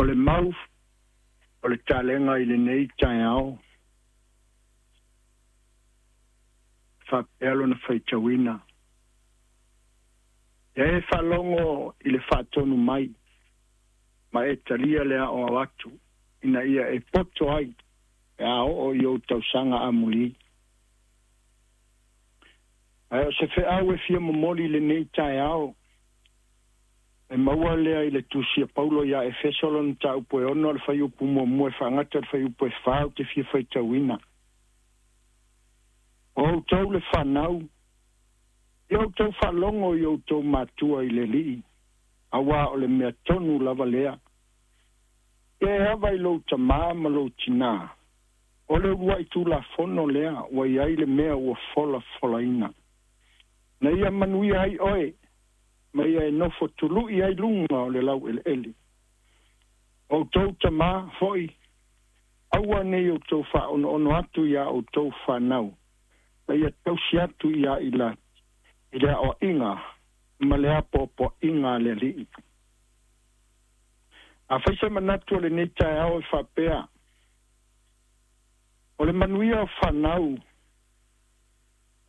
O le mau o le talega i lenei taeao, faapea lona faitauina. Ia e faalogo i le faatonu mai, ma e talia le aoao atu, ina ia e poto ai pe a oo i ou tausaga amuli. Ae o se feau e fia momoli i lenei taeao, e maua lea i le tusi a Paulo ia Efeso lona mataupu e 6 le fuaiupu 1 e faagata i le fuaiupu e 4 ou te fia faitauina. O outou le fanau, ia outou faalogo i outou matua i le Alii, auā o le mea tonu lava lea. Ia e ava i lou tamā ma lou tinā, o le uluai tulafono lea ua i ai le mea ua folafolaina. Na ia manuia ai oe, ma ia e nofo tulu'i ai luga o le laueleele. O outou tamā foi, aua ne i outou faaonoono atu iā outou fanau, ma ia tausi atu iā i le aoaiga ma le apoapoaiga a le Alii. Afai se manatu o lenei taeao e faapea, o le manuia o fanau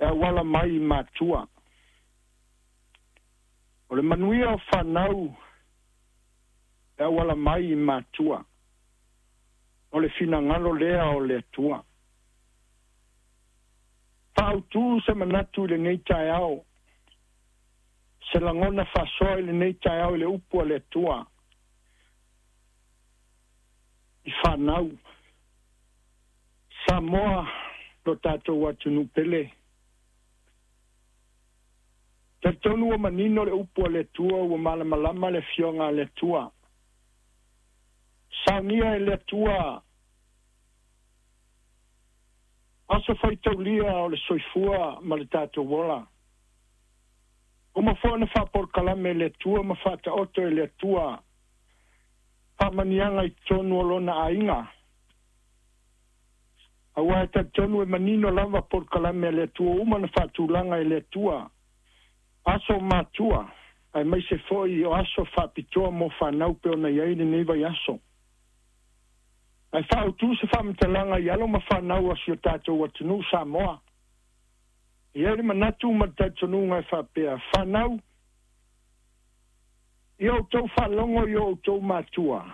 e auala mai i matua. O le manuia o fanau e auala mai i matua. O le finagalo lea o le Atua. Faautū se manatu i lenei taeao, se lagona faasoa i lenei taeao i le upu a le Atua i fanau. Samoa, lo tatou atunuu pele. Talitonu ua manino le upu a le Atua, ua malamalama le afioga a le Atua. Saunia e le Atua aso faitaulia o le soifua ma le tatou ola. Uma foi ona faapolokalame e le Atua ma faataoto e le Atua faamaniaga i totonu o lona aiga. Aua e talitonu e manino lava polokalame a le Atua uma na faatulaga e le Atua aso matua, aemaise foi o aso faapitoa mo fanau pe ona i ai lenei vaiaso. Ae faautū se faamatalaga i alo ma fanau a si o tatou atunuu Samoa. E i ai le manatu ma le talitonuga e faapea, fanau, ia outou faalogo i o outou matua.